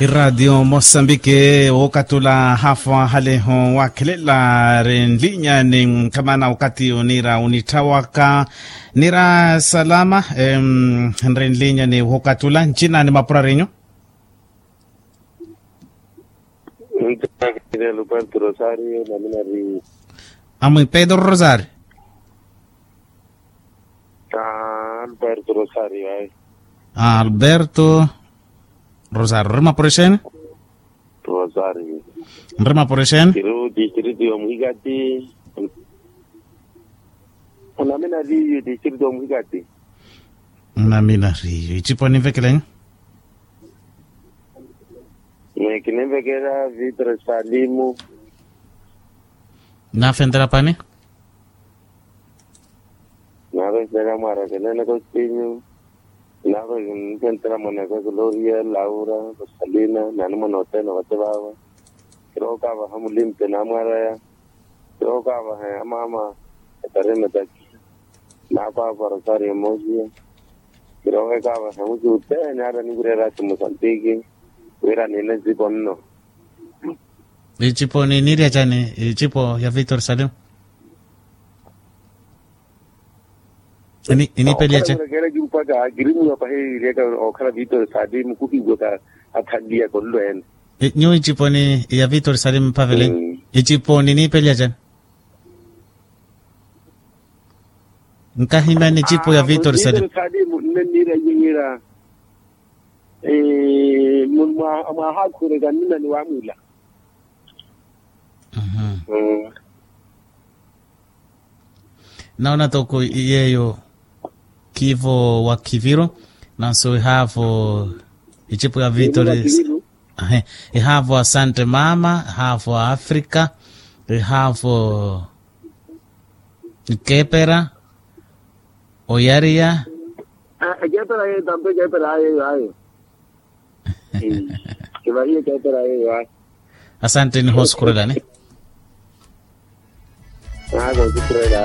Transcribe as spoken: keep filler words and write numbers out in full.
Iraatiyo mosambiki wookatula haafu ahaleho waakhelela rinlinya ni nkhamana wakati oniira onitthawaka niira salama. Nrinlinya ni wookatula ncina ni mapurarinyu. Ntaakirela oparti rosario namina ri amwi pedro rosario. Alberto rosario ai. Alberto rosario nrima porexeni. Rosario nrima porexeni. Kiri distrito ya muhikati. Onamina ri distrito ya muhikati. Namina ri icipo ninvekeleni. Mekinenvekela vitre salimu. Nafentela pani. Nave ntela mwaarakelene kostinyu. Nave ntela mwanaka gloria laura kosalina nani mwana otena vate vava. Kirookavaha mulimpe namwaraya. Kirookavaha ya mama. Etarina taki. Nakwava rosario mosia. Kirookavaha musi utene ata nivirerasi mosantiki. Wira nine nsipo nno. Icipo ninirya cani icipo ya victor salimu? Inipelya cani? Kimpaka kirimuwa pahi iryaka okhala victor salimu kuhiwaka. Athanliya konlo ene. Nyuwo icipo ni ya victor salimu mphavele. Icipo ninipelya cani? Nkahimya ni icipo ya victor salimu. Nnenniira iye wira. Mwahakhureka nnina ni wamwila. Naona toko yeyo kivo wa kiviro. Nanso ihaavo icipo ya victor. Ihaavo asante mama ihaavo afrika. Ihaavo ikepera. Oyariya. Ekepera yeyo tampo ekepera ayeyo ayo. Kivahiye ekepera yeyo ayo. Asante nihosukurelani. Naakosukurelani.